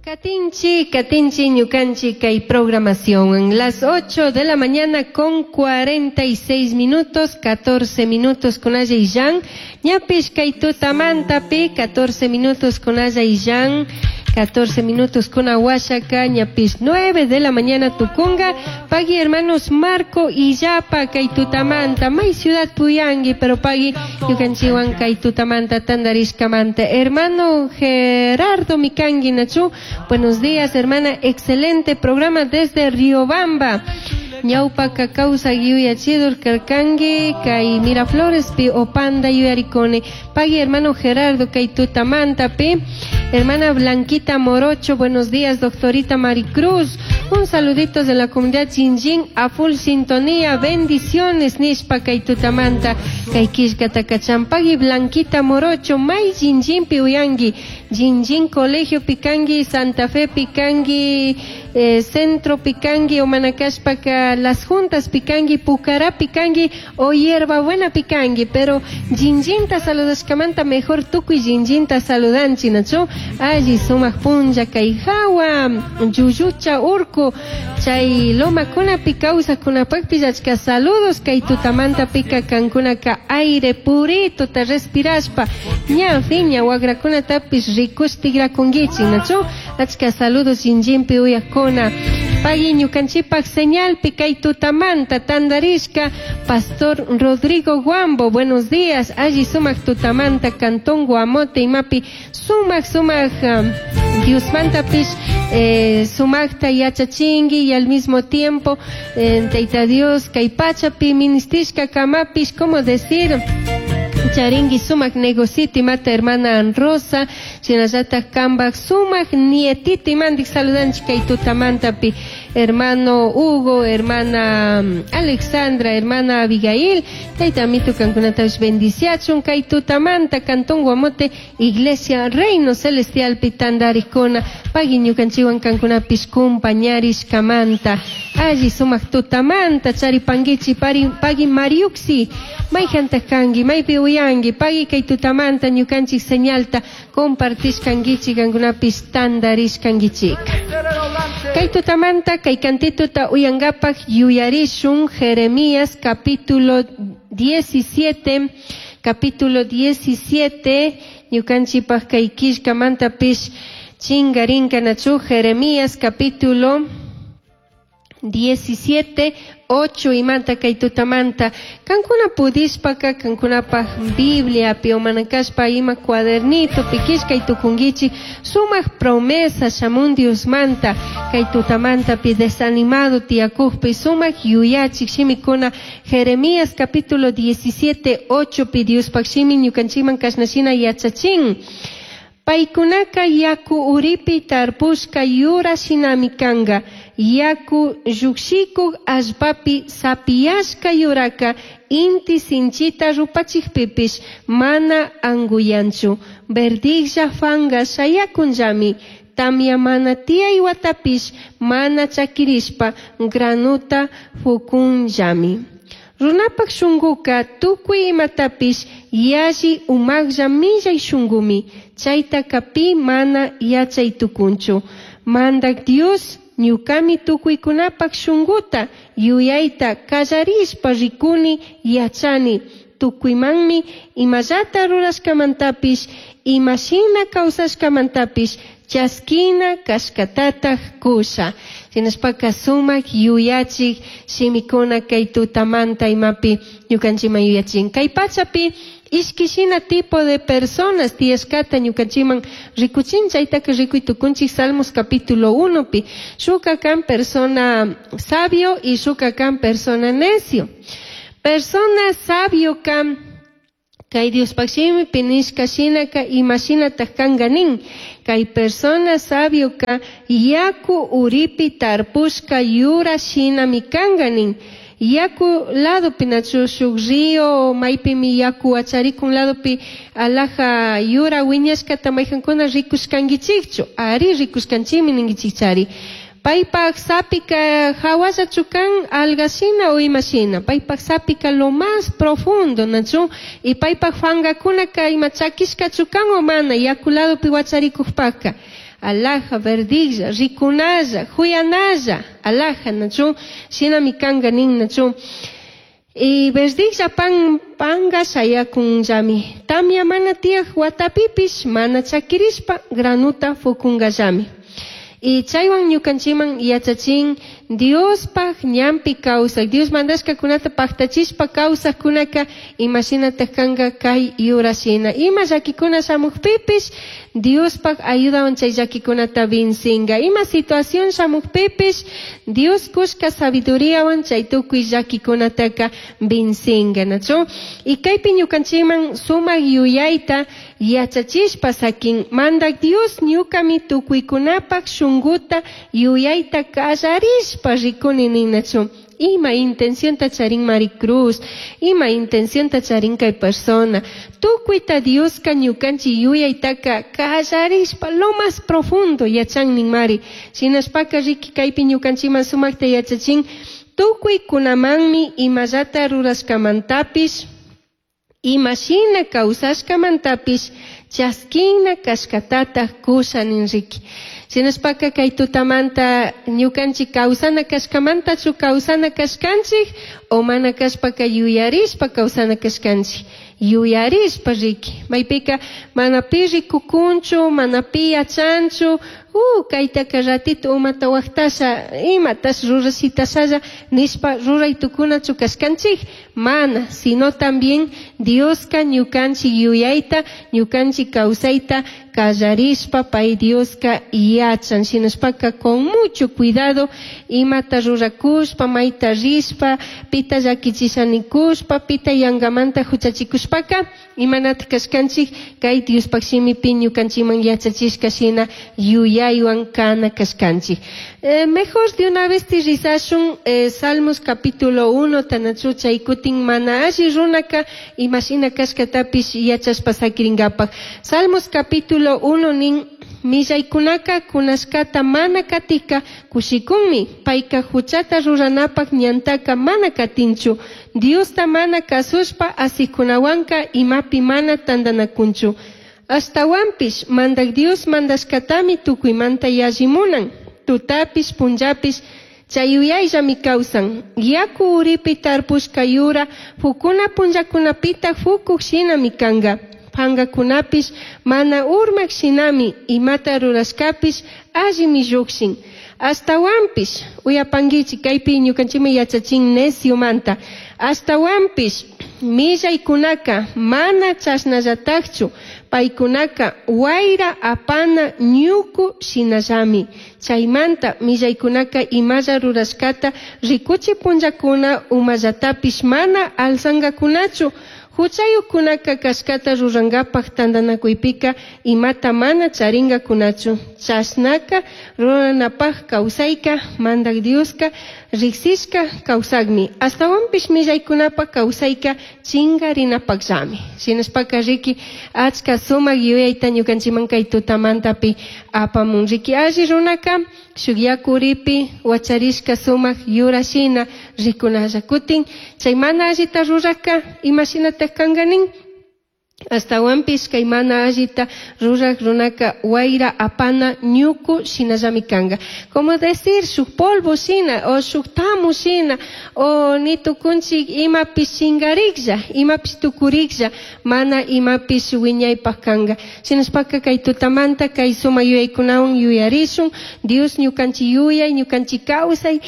Katinchi, katinchi, ñukanchi kay programación. Las 8 de la mañana con 46 minutos, 14 minutos con Aya y Jan. Ñapish kay tutamantapi, 14 minutos con Aya y Jan. 14 minutos con Aguachaca, ñapish 9 de la mañana Tucunga, pagui hermanos Marco y Yapa, kay tutamanta, may ciudad Puyangui, pero pagui ñukanchiwan kay tutamanta, tandarishkamanta. Hermano Gerardo Mikangui Nachu, buenos días hermana, excelente programa desde Riobamba. Ñawpaka kawsak yuyachidur karkanki kay Miraflorespi Opanda yuyarikuni. Pagui hermano Gerardo kay tutamantapi. Hermana Blanquita Morocho, buenos días, doctorita Maricruz. Un saludito de la comunidad Chinchín a full sintonía. Bendiciones, nishpa kay tutamanta. Kay killkata kachan. Pagui Blanquita Morocho, may Chinchín uyangi. Chinchín Colegio Picangi, Santa Fe Picangi, Centro Picangi, Omanacashpaca, Las Juntas Picangi, Pucará Picangi o Hierba Buena Picangi. Pero Chinchínta saludashkamanta mejor tukuy Chinchínta saludanchi, nachu. Alli sumak punlla kay hawa, Yuyucha urku, chay lomakunapi kawsaqkunapaqpis achka saludos kay tutamanta pika kankunaka aire purito ta respirashpa ña fiña wagrakunatapis rikush tigrakunkichik, nachu. Achka saludos Chinchínpi uyaqkuna. Pagui ñukanchikpaq señalpi kay tutamanta tandarishka Pastor Rodrigo Guambo, buenos días. Alli sumak tutamanta Cantón Guamote imapi sumak sumak Diosmantapish sumakta yachachingi y al mismo tiempo Tayta Dios kay pachapi ministishka kamapish, como decir, charingi sumak negocito imata hermana Rosa, shinallatak kambak sumak nietito imandik saludanchik kay tutamantapi hermano Hugo, hermana Alexandra, hermana Abigail, tayta amito kankunatapish bendiciachun kay tutamanta Cantón Guamote, Iglesia Reino Celestial pitandarikuna, pagui ñukanchikwan kankunapish kumpañarishkamanta, alli sumak tutamanta charipankichik pagui Mariuxi, mayjantaq kanki, maypi uyanki, pagui kay tutamanta ñukanchik señalta compartishkankichik kankunapish tandarishkankichik. Kay tutamanta kay kantituta uyankapaq yuyarishun Jeremías capítulo 17, capítulo 17, ñukanchikpaq kay killkamantapish chingarinka nachu Jeremías capítulo 17, 8 imanta kay tutamanta. Kankuna pudishpaka kankunapaq Biblia omanakashpa ima cuadernito pikishkay tukunkichik sumak promesa shamun Diosmanta kay tutamanta pi desanimado tiyakukpi sumak yuyachik shimikuna Jeremías capítulo 17, 8 pi Diospaq shimi ñukanchikman kashnashina yachachin. Paykunaka yaku uripi tarpushka yura shinami kanga, yaku llukshikuk allpapi sapiyashka yuraka inti sinchita rupachikpipish mana anguyanchu, verdijlla fanga shayakunllami, tamya mana tiyay watapish mana chakirishpa granuta fukunllami. Runapak shunkuka tukuy imatapish yalli umaklla millay shunkumi, chaytaka pi mana yachay tukunchu. Mandak Dios ñukami tukuykunapak shunkuta yuyayta kallarishpa rikuni yachani, tukuymanmi imallata rurashkamantapish imashina kawsashkamantapish chaskina kashkatataj kusha. Shinashpaka sumak yuyachik shimikuna kay tutamanta imapi ñukanchikman yuyachin. Kay pachapi ishkishina tipo de personas tiyashkata ñukanchikman rikuchin, chaytaka rikuy tukunchik Salmos capítulo 1 pi. Shuka kan persona sabio y shuka kan persona necio. Persona sabio kan kay Diospaq shimipi nishka shinaka imashinataj kanka nin. Kay persona sabio ka yaku uripi tarpushka yura shinami kanka nin. Yaku ladopi nachu shuk río maypimi yaku acharikun ladopi alaja yura wiñashkata mayjankuna rikushkankichikchu, ari rikushkanchikmi ninkichikchari. Paypaj sapika hawallachu kan algashina o imashina. Paypaj sapika lo más profundo, nachu? Y paypaj fangakunaka ima chakishkachu kan o mana yaku ladopi wacharikujpaka. Alaja, verdilla, rikunalla, huyanalla, alaja, nachu? Shinami kanga nin, nachu? Y verdilla pan panga shayakunllami. Tamya mana tiyaj watapipish mana chakirishpa granuta fukungallami. Y chaywan ñukanchikman yachachin Diospaj ñanpi kawsak, Dios mandashkakunata paktachishpa kawsakkunaka imashinataj kanka kay yurashina. Ima llakikuna shamukpipish Diospaj ayudawan chay llakikunata vincinga. Ima situación shamukpipish Dios kushka sabiduriawan chay tukuy llakikunataka vincinga, nachu? Y kaypi ñukanchikman sumak yuyayta yachachishpa sakin. Mandak Dios ñukami tukuykunapaj shunguta yuyayta kallarishpa rikuni nin, nachu? Ima intencionta charin Maricruz, ima intencionta charin kay persona. Tukuyta Dioska ñukanchik yuyaytaka kallarishpa lo más profundo yachan nin mari. Shinashpaka riki kaypi ñukanchikman sumakta yachachin tukuykunamanmi imallata rurashkamantapish imashina kawsashkamantapish chaskina kashkatataj kusha nin riki. Shinashpaka kay tutamanta ñukanchik kawsana kashkamantachu kawsana kashkanchik o mana kashpaka yuyarishpa kawsana kashkanchik. Yuyarishpa riki. Maypika mana pi rikukunchu, mana pi yachanchu, kaytaka ratito umata waqtasha, imatash rurashitashalla nishpa ruray tukunachu kashkanchik. Mana, sino también Dioska ñukanchik yuyayta, ñukanchik kawsayta kallarishpa pay Dioska yachan. Shinashpaka con mucho cuidado imata rurakushpa, mayta rishpa, pita llakichishanikushpa, pita yangamanta huchachikushpaka, imanata kashkanchik kay Diospaj shimipi ñukanchikman yachachishka shina yuyaywan kana kashkanchik. Mejor de una vez rizashun Salmos capítulo 1 tanachu chay kutin mana alli runaka imashina kashkatapish yachashpa sakiringapaj. Salmos capítulo 1 nin millaykunaka kunashkata mana katika kushikunmi payka huchata ruranapaj ñantaka mana katinchu Diosta mana kasushpa asikunawanka imapi mana tantanakunchu. Ashtawanpish mandak Dios mandashkatami tukuymanta yallimunan. Tutapish punllapish chay yuyayllami kawsan. Yaku uripi tarpushka yura fukuna punllakunapita fukuq shinami kanka. Pangakunapish mana urmak shinami imata rurashkapish allimi llukshin. Ashtawanpish uyapankichik kaypi ñukanchikmi yachachin neciomanta. Ashtawanpish millaykunaka mana chashnallatakchu paykunaka wayra apana ñuku shinallami. Chaymanta millaykunaka imalla rurashkata rikuchi punllakuna umallatapish mana alzangakunachu. Huchayuqkunaka kashkata rurankapaj tantanakuypika imata mana charinkakunachu. Chashnaka ruranapaj kawsayka mandak Dioska riksishka kawsakmi. Ashtawanpish millaykunapaj kawsayka chinkarinapakllami. Shinashpaka riki achka sumak yuyayta ñukanchikman kay tutamantapi apamun. Riki alli runaka shuk yaku uripi wacharishka sumak yura shina rikunalla. Kutin chay mana allita ruraka imashinataj kanka nin? Ashtawanpish kay mana allita rurak runaka wayra apana ñuku shinallami kanka. Como decir, shuk polvo shina o shuk tamu shina o ni tukunchik imapish chingariklla, imapish tukuriklla, mana imapish wiñaypaj kanka. Shinashpaka kay tutamanta kay sumak yuyaykunawan yuyarishun, Dios ñukanchik yuyay, ñukanchik kawsay,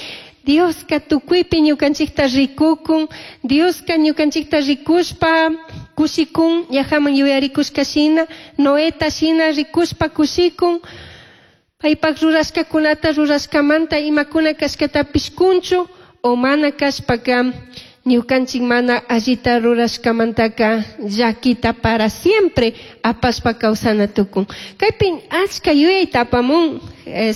Dioska tukuypi ñukanchikta rikukun, Dioska ñukanchikta rikushpa kushikun, ñajaman yuyarikushka shina, Noeta shina rikushpa kushikun, paypak rurashkakunata rurashkamanta imakuna kashkatapish kunchu, o mana kashpaka ñukanchik mana allita rurashkamantaka llakita para siempre apashpa kawsana tukun. Kaypi achka yuyayta apamun,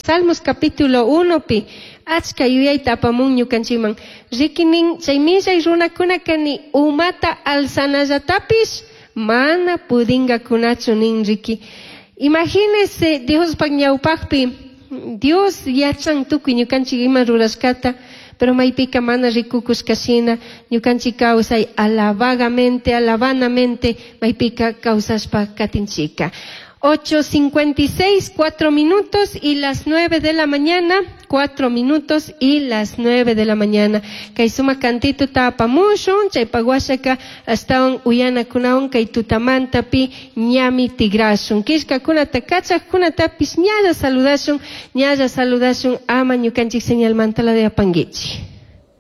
Salmos capítulo 1 pi achka yuyayta apamun ñukanchikman. Rikinin chay millay runakunaka ni umata alzanallatapish mana pudingakunachu nin riki. Imagínese Diospaj ñawpajpi Dios yachan tukuy ñukanchik ima rurashkata, pero maypika mana rikukushkashina ñukanchik kawsay alabagamente, alabanamente maypika kawsashpa katinchika. 8:56, 4 minutos y las 9 de la mañana, 4 minutos y las 9 de la mañana. Kay suma cantito tapamushun, chaypa washaka astawan uyanakunawan kay tutamantapi ñami tigrashun. Killkakunata kachaqkunatapish ñalla saludashun, ñalla saludashun ama ñukanchik señalmanta la de apanguichi.